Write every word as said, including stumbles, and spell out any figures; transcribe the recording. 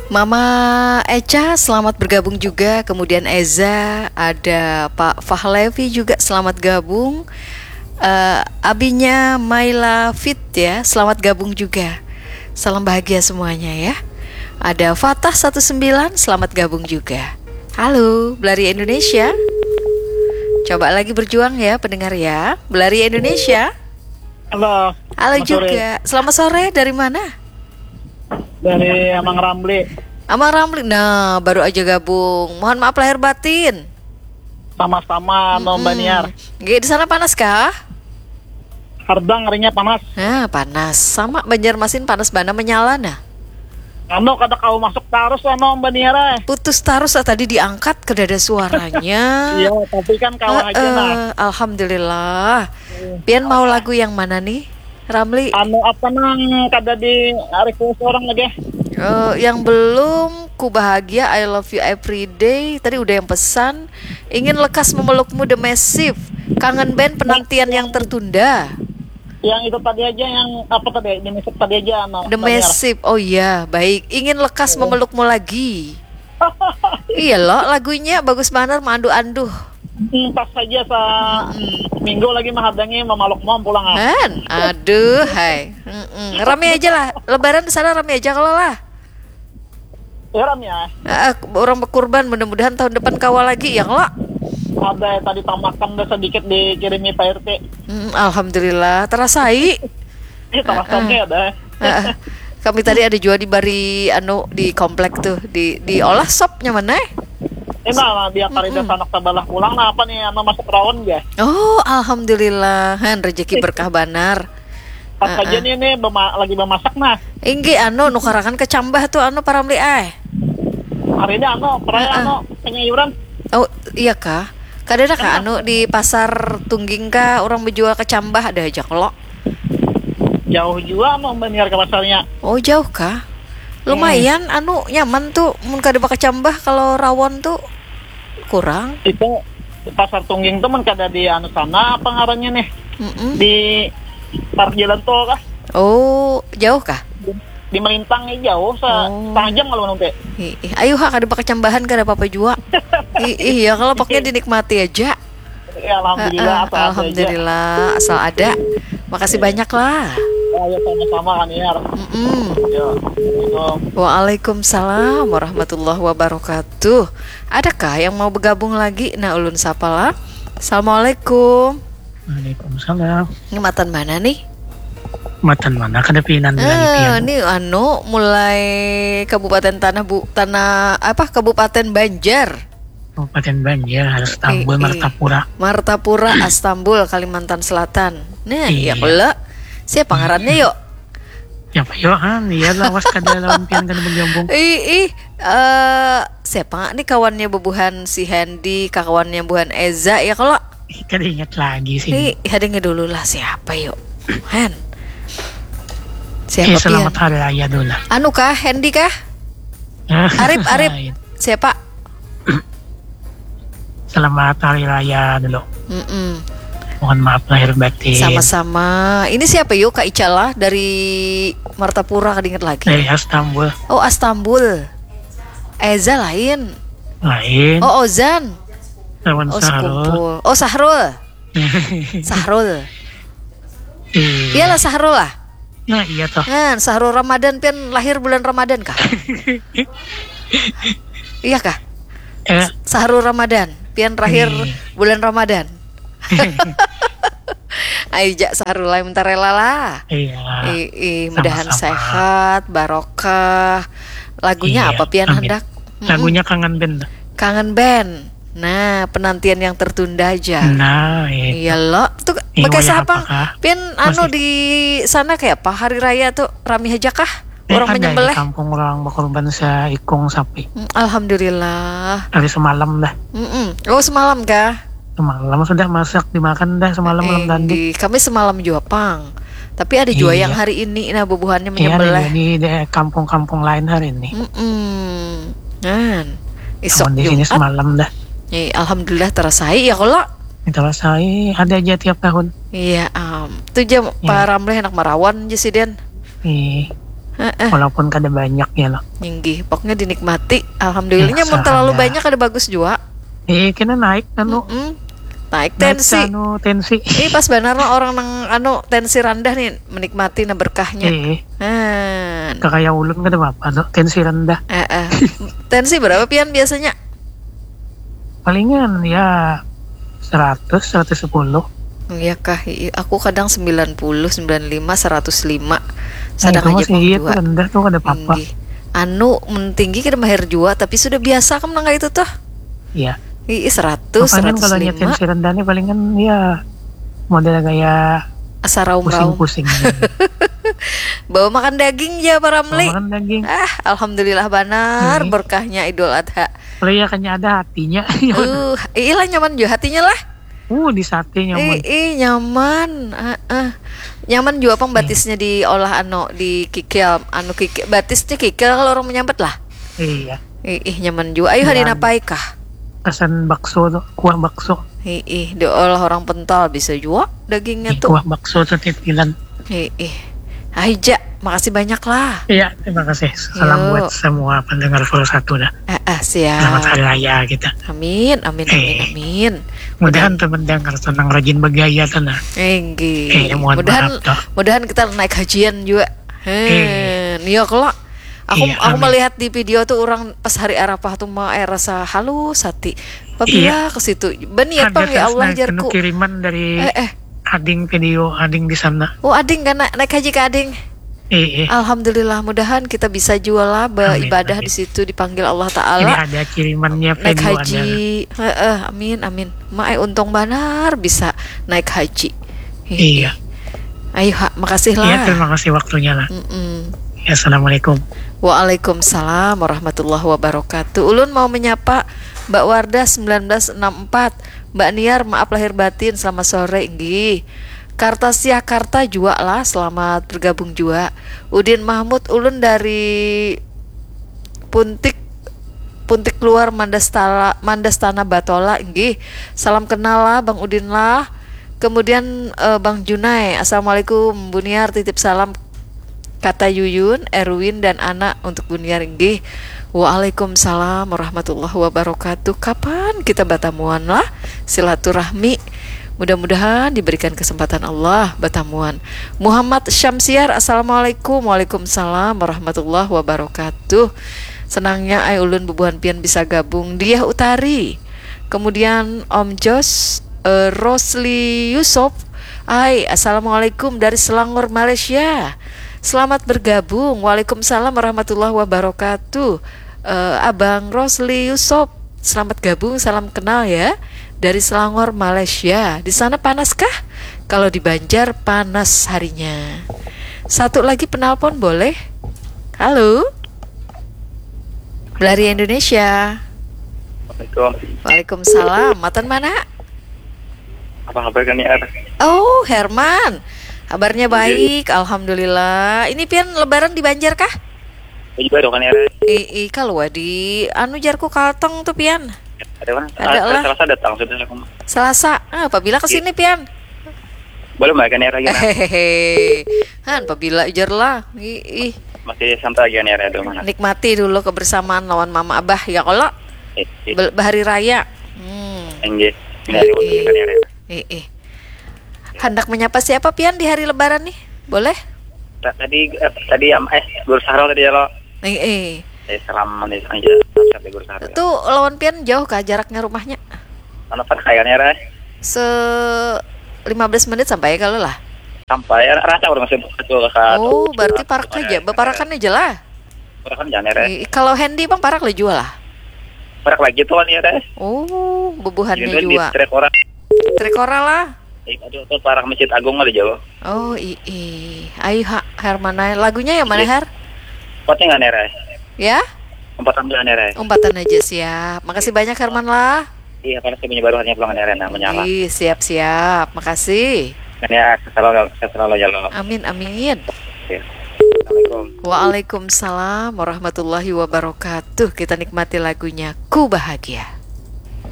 Mama Eca, selamat bergabung juga. Kemudian Eza, ada Pak Fahlevi juga, selamat gabung. Eh, abinya Maila Fit ya, selamat gabung juga. Salam bahagia semuanya ya. Ada Fatah satu sembilan, selamat gabung juga. Halo, Belari Indonesia. Coba lagi berjuang ya, pendengar ya. Belari Indonesia. Halo. Halo juga. Selamat sore, dari mana? Dari Amang Ramli. Amang Ramli. Nah, baru aja gabung. Mohon maaf lahir batin. Sama-sama, no, Mbak Niar. Nggih, di sana panas kah? Hardang harinya panas. Nah, panas. Sama Banjarmasin panas bana menyala nah. Anu, kada kawa masuk tarus, anu, Mbak Niar, eh. Putus tarus lah, tadi diangkat, kada ada suaranya. Iya, tapi kan kawa aja nah. Eh, alhamdulillah. Pian mau lagu yang mana nih, Ramli? Anu, apa nang kada di request orang lagi? Eh, yang belum, Ku Bahagia, I Love You Everyday. Tadi udah yang pesan. Ingin lekas memelukmu, The Massive. Kangen Band, Penantian yang Tertunda. Yang itu tadi aja, yang apa tadi, The Massive tadi aja, anu, The Mbak Niar. Massive. Oh iya, baik. Ingin lekas memelukmu lagi. Iya loh, lagunya bagus banar, maanduh-anduh. Hmm, pas saja sa minggu lagi mahadangi mamaluk mom pulang, ah. Han, aduh, hai. Mm-mm. Rame aja lah. Lebaran di sana rame aja kalau lah. Ya, rame ya. Eh, orang berkurban, mudah-mudahan tahun depan kawa lagi ya kalau. Ada tadi tamakan dah sedikit dikirimi Pak R T. Mm, alhamdulillah, terasai. Ini tamakan ada. Heeh. Kami tadi ada juga dibari anu di komplek tuh, di diolah sopnya mana? Ini lah, dia karida sanak sabalah pulang, nah apa nih, anu masuk rawon ya? Oh, alhamdulillah. Han, rezeki berkah banar. Pas aja nih, nih bema- lagi memasak nah. Inggih, anu nukarakan kecambah tuh, anu Paramli ai. Hari ini anu, peraya anu penyayuran. Oh, iya kah? Kada ada kah anu di pasar Tungging kah orang menjual kecambah, ada aja kalau. Jauh juga mau Mbak Niar ke pasarnya. Oh, jauh kah? Lumayan anu nyaman tuh mun kada bakacambah, kalau rawon tuh kurang. Itu pasar Tungging tuh mun kada di anu sana, apa ngarannya nih? Mm-mm. Di parkir jalan tol kah? Oh, jauh kah? Di Melintang nih jauh, se- Oh. setengah jam kalau nanti. Ih, ih, ayo ha, kada bakacambahan kada apa-apa jua. Ih, ih, ya kalau pokoknya dinikmati aja. Ya, alhamdulillah, Heeh, asal ada aja. Alhamdulillah, asal ada. Makasih banyak lah. Ya, ya, sama-sama kan, Niar. Mm-mm. Ya, assalamualaikum. Waalaikumsalam warahmatullahi wabarakatuh. Adakah yang mau bergabung lagi? Nah, ulun sapa lah. Assalamualaikum. Waalaikumsalam. Ini matan mana nih? Matan mana kada pinan bilang Eh, pian? Ini anu mulai Kabupaten Tanah Bu, Tanah apa, Kabupaten Banjar. Kabupaten Banjar, Astambul, Eh, eh. Martapura. Martapura, Astambul, Kalimantan Selatan. Nah, ya Iya. Kula. Siapa ngarannya yuk? Siapa yo han? Iya lawas kada lawan pian kada bergabung. Ih, ih, eh, siapa nih kawannya bebuhan si Hendy, kawannya buhan Eza ya kalau. Ih, kada ingat lagi sih. Ih, hadengnya dulu lah siapa yuk? Hen. Eh, Siapa selamat pian? Hari Raya dulu lah. Anu kah, Hendy kah? Arif, Arif. Lain. Siapa? Selamat Hari Raya dulu. Mm-mm. Mohon maaf lahir batin. Sama-sama. Ini siapa yuk, Kak Ica lah dari Martapura, kada ingat lagi. Dari Astambul. Oh, Astambul. Eza lain. Lain. Oh, Ozan. Lawan Oh, Sahrul. sekumpul. Oh, Sahrul. Sahrul. Iya. Iyalah Sahrul lah. Nah, iya toh. Nah, Sahrul Ramadan pian lahir bulan Ramadan kah? Iya kah? Eh, Sahrul Ramadan pian lahir Iya. bulan Ramadan. Ayo jak Sahrul lah, minta rela lah. iya. Ih, ih, mudahan Sama-sama. Sehat, barokah. Lagunya Iya, apa pian amin. Hendak? Mm-mm. Lagunya Kangen Band. Kangen Band. Nah, Penantian yang Tertunda aja. Nah, itu. Iya lo, tuh Iya, pakai wayah siapa? Apakah? Pian anu Masih. Di sana kayak apa, hari raya tuh rami aja kah? Eh, Orang ada menyembelih. Di kampung orang berkorban seikung sapi. Hmm, alhamdulillah. Hari semalam dah. Mm-mm. Oh, semalam kah? Semalam sudah masak dimakan dah semalam malam tadi. Kami semalam juga pang. Tapi ada juga Iya. Yang hari ini nah bubuhannya Iya, menyembelih. Ini di kampung-kampung lain hari ini. Mm-mm. Nah, isok Cuman di sini Jumat. Semalam dah. Eh, alhamdulillah terasai ya kalau. Terasai ada aja tiap tahun. Iya, am. Tuh aja Pak Ramleh anak marawan aja sih, Den. Ih. Heeh. Walaupun kada banyak ya loh. Inggih, pokoknya dinikmati. Alhamdulillahnya Iya, mun terlalu sahada. banyak kada bagus jua. Eh, kena naik anu. Mm-mm. Naik Naik tensi. Anu tensi. Ih, pas banar lah orang nang anu tensi rendah nih menikmati nah berkahnya. Eh, Han. Kakaya ulun kada apa-apa tuh, tensi rendah. Eh, eh. Tensi berapa pian biasanya? Palingan ya seratus, seratus sepuluh. Iya kah? Ih, aku kadang sembilan puluh, sembilan lima, seratus lima. Nah, Sadang itu aja masih pang iya jua. Tuh rendah tuh kada apa-apa. Tinggi. Anu, mun tinggi kada mahir jua, tapi sudah biasa kan nang itu tuh. Iya. Ih, seratus, Makanya kalau seratus hanya lima. Tensi rendah nih palingan ya model kayak Asa raum-raum. Pusing-pusing. Bawa makan daging ya Pak Ramli. Makan daging. Ah, alhamdulillah banar Hmm. Berkahnya Idul Adha. Kalau ya kayaknya ada hatinya. Uh, iyalah nyaman juga hatinya lah. Uh, di sate nyaman. Ih, ih, nyaman. Heeh. Nyaman juga pang batisnya diolah anu, dikikil, anu kikil, batisnya kikil kalau orang menyambat lah. Iya. Ih, ih, nyaman juga. Ayo Iya. Hari napai kah? Pesan bakso tuh, kuah bakso. Ih, ih, diolah orang pental bisa juga dagingnya Ih, tuh. Kuah bakso tuh titilan. Ih, ih. Aija, makasih banyak lah. Iya, terima kasih. Salam Yo. Buat semua pendengar Full Satu dah. Ah, ah, Selamat siap. Hari raya kita. Amin, amin, amin, Eh. amin. Mudahan teman dengar senang rajin bergaya tuh nah. Enggih. Eh, mohon Mudahan maaf, toh. mudahan kita naik hajian juga. Hen. Eh. Iya kalau aku Iya, aku amin. Melihat di video tuh orang pas hari Arafah tuh mau eh, rasa halus hati. Apabila Iya. Ke situ, beniat Ada pang ya tes Allah nah, jarku. Kiriman dari Eh, eh. Ading video, Ading di sana. Oh, Ading kan na- naik haji ke Ading. Eh, eh. Alhamdulillah, mudahan kita bisa juga lah Amin, beribadah amin. Di situ dipanggil Allah Ini Taala. Ada kirimannya Naik video haji. Heeh, amin amin. Mak eh, untung banar bisa naik haji. Ih, Iya. Ayo ha, makasih Iya, lah. Terima kasih waktunya lah. Mm-mm. Ya, assalamualaikum. Waalaikumsalam warahmatullahi wabarakatuh. Ulun mau menyapa Mbak Wardah sembilan belas enam empat. Mbak Niar, maaf lahir batin, selamat sore. Inggih. Kartasiah Karta juga lah, selamat bergabung juga. Udin Mahmud, ulun dari Puntik, Puntik Luar Mandastala, Mandastana Batola. Inggih. Salam kenal lah Bang Udin lah. Kemudian eh, Bang Junai, assalamualaikum Bu Niar, titip salam kata Yuyun, Erwin, dan anak untuk Bu Niar inggih. Waalaikumsalam warahmatullahi wabarakatuh. Kapan kita batamuan lah silaturahmi? Mudah-mudahan diberikan kesempatan Allah batamuan. Muhammad Syamsiar, assalamualaikum. Waalaikumsalam warahmatullahi wabarakatuh. Senangnya ai ulun bubuhan pian bisa gabung. Diah Utari. Kemudian Om Jos, eh, Rosli Yusuf. Hai, assalamualaikum dari Selangor, Malaysia. Selamat bergabung. Waalaikumsalam warahmatullahi wabarakatuh. Eh, Abang Rosli Yusuf, selamat gabung. Salam kenal ya. Dari Selangor, Malaysia. Di sana panaskah? Kalau di Banjar panas harinya. Satu lagi penelpon boleh? Halo. Belari Indonesia. Assalamualaikum. Waalaikumsalam. Matan mana? Apa kabar kan ya? Oh, Herman. Kabarnya baik, alhamdulillah. Ini pian lebaran di Banjar kah? Ini baru kan ya? Ih, ih, kalau di anu jarku Kalteng tuh pian. Ada mana? Ada lah. Selasa datang sudah aku. Selasa, ah, apabila ke sini pian? Boleh mbak kan ya lagi nah? Hehehe. Han, apabila ujar lah. Ih, ih. Masih santai lagi kan ya di rumah. Nikmati dulu kebersamaan lawan mama abah ya kalau Eh, eh, bel- bahari raya. Hmm. Enggak. Ini hari waktu Iya. Kan ya. Eh, eh. Hendak menyapa siapa pian di hari lebaran nih? Boleh? Ta- Tadi eh, tadi am eh Guru Sahrul tadi ya lo. Eh, eh. Eh salam manis aja. Salam sehat ya Guru Sahrul. Tuh lawan pian jauh kah jaraknya rumahnya? Mana kan kayak kan ya Ray? Se lima belas menit sampai kalau lah. Sampai ya, rasa orang masih betul ke Oh, berarti parak aja. Baparakan aja lah. Parak kan jangan ya Ray. Eh, kalau Hendy bang parak lah jual lah. Parak lagi tuh kan ya Ray. Oh, bubuhannya Ini di juga. Trek orang. Trek ora lah. Eh, aduh tuh parak Masjid Agung ada jauh. Oh, ih, ih. Ayo ha, Herman ae. Lagunya yang mana, Iya. Her? Kuatnya nggak nih Ray? Ya? Empat enggak nih Ray. Umpatan aja siap. Makasih banyak Herman lah. Iya karena saya punya baru hanya pulang nih Ray. Nah menyala. Ih, siap-siap. Makasih. Kan ya selalu selalu ya lo. Amin, amin. Oke. Assalamualaikum. Waalaikumsalam warahmatullahi wabarakatuh. Kita nikmati lagunya Ku Bahagia.